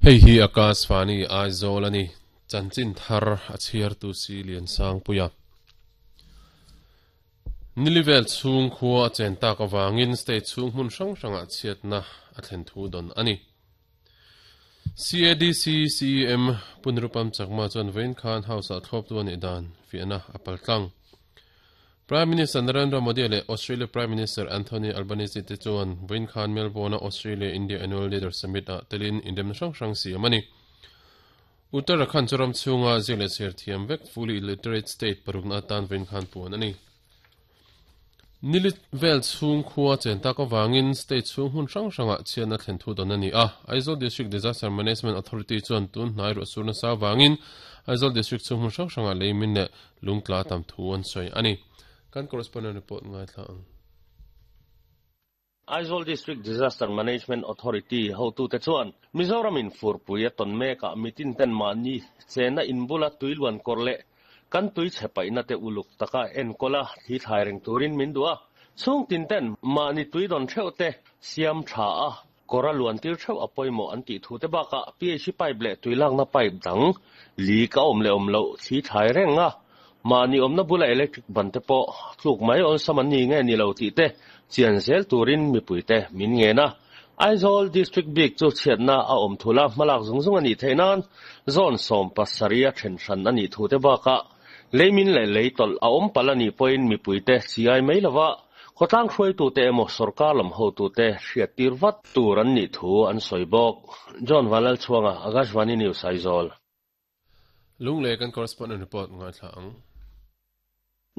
Hei hi Akashvani Aizawl a ni. Chanchin thar a chhiartu si Liansangpuia. Nilivel chhung khua a chen tak avangin state chhung hmun hrang hrangah chhiatna a thlen thu dawn a ni. CADC CEM Pu Nirupam Chakma chuan vawiin khan House-ah thlawptu a nih dan fiahna a paltlang. Prime Minister Narendra Modi leh Australia Prime Minister Anthony Albanese te chuan vawiin khan Melbourne-a Australia-India Annual Leaders Summit-ah telin indemna hrang hrang siam a ni. Uttarakhand chu ram chhunga ziak leh chhiar thiam vek fully illiterate state parukna atan vawiin khan puan a ni. Nili vel chhung khua chen tak avangin state chhung hmun hrang hrangah chhiatna thlen thu dawn a ni a. Aizawl District Disaster Management Authority chuan tun hnai ruah sur nasa avangin Aizawl District chhung hmun hrang hrangah leimin leh lungtla tam thu an sawi a ni. Kan correspondent report ngaithla ang. Aizawl District Disaster Management Authority hotute chuan Mizoramin furpui a tawn mekah mitin ten mahni chenna inbula tui luan kawr leh kan tui chhe paihna te uluk taka enkawl a thli thlai reng turin min duh a, chhung tin ten mahni tui dawn theuh te siam tha a, kawr a luan tir theuh a pawimawh an tih thu te bakah PHC pipe leh tui lakna pipe dang leak a awm leh awm loh thli thlai reng a, Mahni awmna bula electric ban te pawh tluk mai awlsam an ni nge ni lo tih te chian zel turin mipuite min ngen a. Aizawl District bik chu chhiatna a awm thul a, hmalak zung zung a nih theih nan zone 17 a then hran a nih thu te bakah leimin leh lei tawlh a awm palh a nih pawhin mipuite chiai mai lova khawtlang hruaitute emaw sorkar lam hotute hriattir vat tur an nih thu an sawi bawk. John Vanlalchhuanga, Akashvani News, Aizawl. Lunglei kan correspondent report ngaithla ang.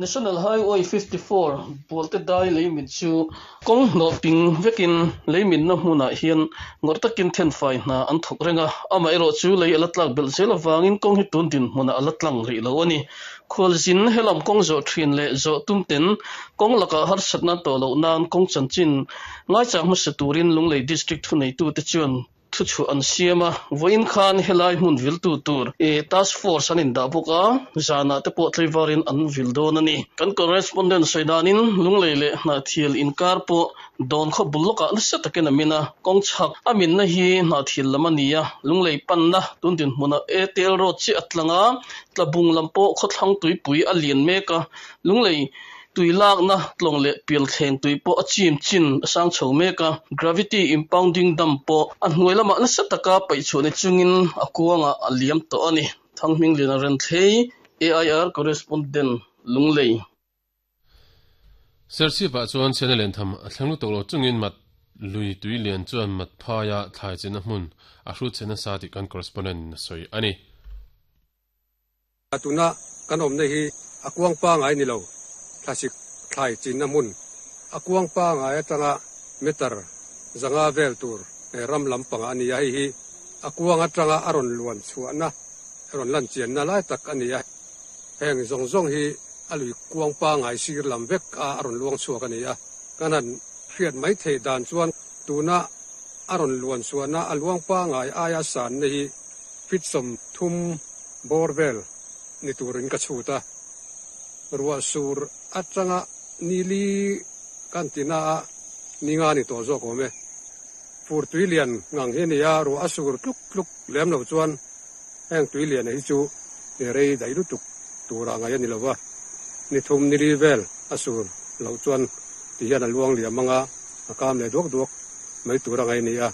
National Highway 54 Bualte dai leimin chu kawng hnawh ping vekin leiminna hmunah hian ngawrh takin thenfai hna an thawk reng a, amaherawhchu lei a la tlak belh zel avangin kawng hi tun dinhmunah a la tlang rih lo a ni. Khualzin helam kawng zawh thin leh zawh tum ten kawng lakah harsatna tawh loh nan kawng chanchin ngaichang hmasa turin Lunglei District thuneitute chuan Thuchhuah an siam a, vawiin khan helai hmun viltu tur task force an indah bawk a, zanah te pawh tlaivarin an vil dawn a ni. Kan correspondent sawi danin Lunglei leh Hnahthial inkar pawh dawn khaw bul lawkah nasa takin a min a, kawng chhak a minna hi Hnahthial lam a ni a, Lunglei panna tun dinhmunah Airtel road chiah a tlang a, Tlabung lam pawh khawthlang tuipui a lian mek a, Lunglei Tui lakna tlawng leh pialthleng tui pawh a chim chin a sang chho mek a, gravity impounding dam pawh a hnuai lamah nasa taka paih chhuah ni chungin a kuangah a liam tawh a ni. Thanghmingliana Renthlei, AIR Correspondent, Lunglei. Serchhip-ah chuan chhiatna len tham a thleng lutuk lo chungin mat lui tui lian chuan mat phaia thlai chinna hmun a hrut chhe nasa tih kan correspondent in a sawi a ni. Tuna kan awmna hi a kuang pangai ni lo, thlasik thlai chinna hmun a kuang pangai atanga meter 500 vel tur ram lampang a ni a, hei hi a kuang atanga a rawn luan chhuahna, a rawn lan chianna lai tak a ni a, heng zawng zawng hi a lui kuang pangai sir lam vek a a rawn luang chhuak a ni a, kan han hriat mai theih dan chuan tuna a rawn luan chhuahna a luang pangai aia sanna hi feet 30 bawr vel ni turin ka chhut a, ruah sur atanga ni li kan ti na a, ni nga ni tawh zawk awm e. Fur tui lian ngang hi a ni a, ruah a sur tluk tluk lem lo chuan heng tui lian hi chu rei daih lutuk tura ngaih a ni lo va, ni thum ni li vel a sur loh chuan ti hian a luang liam anga a kam leh duak duak mai tura ngaih a ni a.